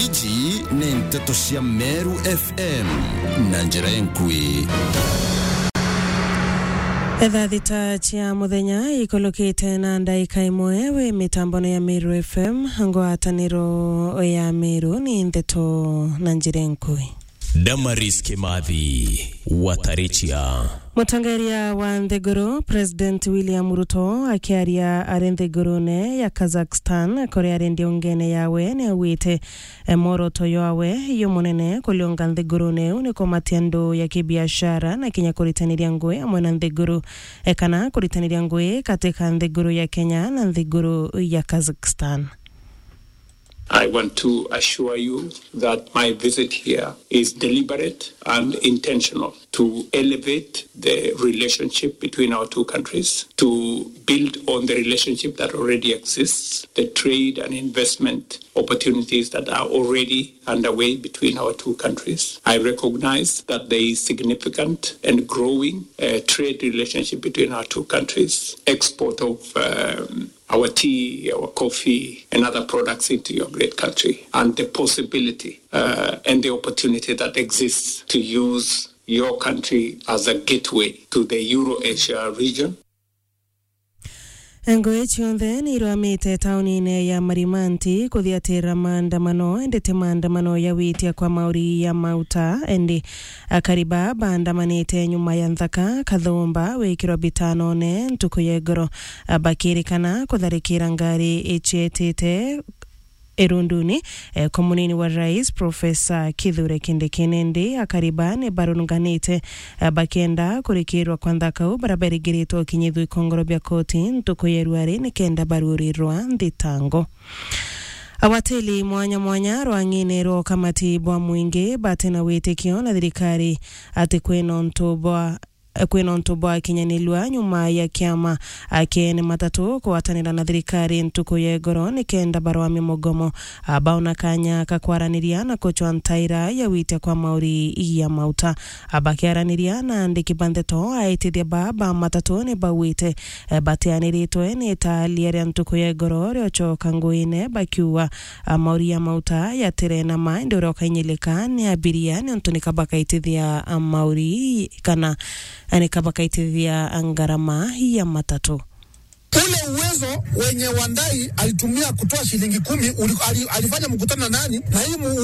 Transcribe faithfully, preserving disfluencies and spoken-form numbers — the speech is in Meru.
Iji ni nteto cia Meru F M na njira enkui. Etha thita cia muthenya ikulukite na ndaika imwe wi mitambone ya Meru F M, ngwataniro ya Meru ni nteto na njira enkui. Damaris Kimathi, Watarichia. Mutongeria wa nthiguru, President William Ruto, akiaria ari nthigurune ya Kazakhstan, kuria ari ndiungene yawe, ni augite, e, mworoto jwawe jumunene kuriunga nthigurune iu ni kumatia ndu ya kibiashara na kinya kuritaniria ngui amwe na nthiguru, e, kana kuritaniria ngui katika nthiguru ya Kenya na nthiguru ya Kazakhstan. I want to assure you that my visit here is deliberate and intentional to elevate the relationship between our two countries, to build on the relationship that already exists, the trade and investment opportunities that are already underway between our two countries. I recognize that there is significant and growing, uh, trade relationship between our two countries, export of, um, our tea, our coffee, and other products into your great country, and the possibility, uh, and the opportunity that exists to use your country as a gateway to the Euro-Asia region. Ngui cionthe ni irwamite taunine ya Marimanti kuthiatira maandamano, indi ti maandamano ya witia kwa mauri ya mauta, indi akari ba baandamanite nyuma ya nthaka kathumba wikirwa bitanone ntuku ya igoro, bakirikana kutharikira ngari icietite irunduni, eh, kwa munini wa rais, Profesa Kithure Kindiki. Nindi akari ba ni barunganite, eh, bakienda kurikirwa kwa nthaka u baria barigiritwe ukinyithua ikongoro bia koti ntuku ya ruari nikenda barurirwa nthitango. Agwatiri mwanya mwanya rwang'ine rwa ukamati bwa mwingi bati na witikio na thirikari ati kwina untu bwa kwina untu bwakinyanilua nyuma ya kiama kia ene matatu kugwatanira na thirikari ntuku ya igoro nikenda barwamia mugomo, a, baona kanya ka kwaraniria na kucwa ntaira ya witia kwa mauri ya mauta. A, bakiaraniria na andiki ba ndeto, aitithia ba, ba matatu ni bauite, e, batianiritwe ni itaalia ria ntuku ya igoro riocoka nguine, bakiuga, a, mauri ya mauta yatire na ma, indi uria ukainyilika ni abiria, niuntu nika bakaitithia, a, mauri kana, a, nika bakaitithia ngarama ya matatu. Ule uwezo wenye Wandai alitumia kutoa shilingi kumi, uli-, ali-, alifanya mkutano na nani? Na hii mu-, uwezo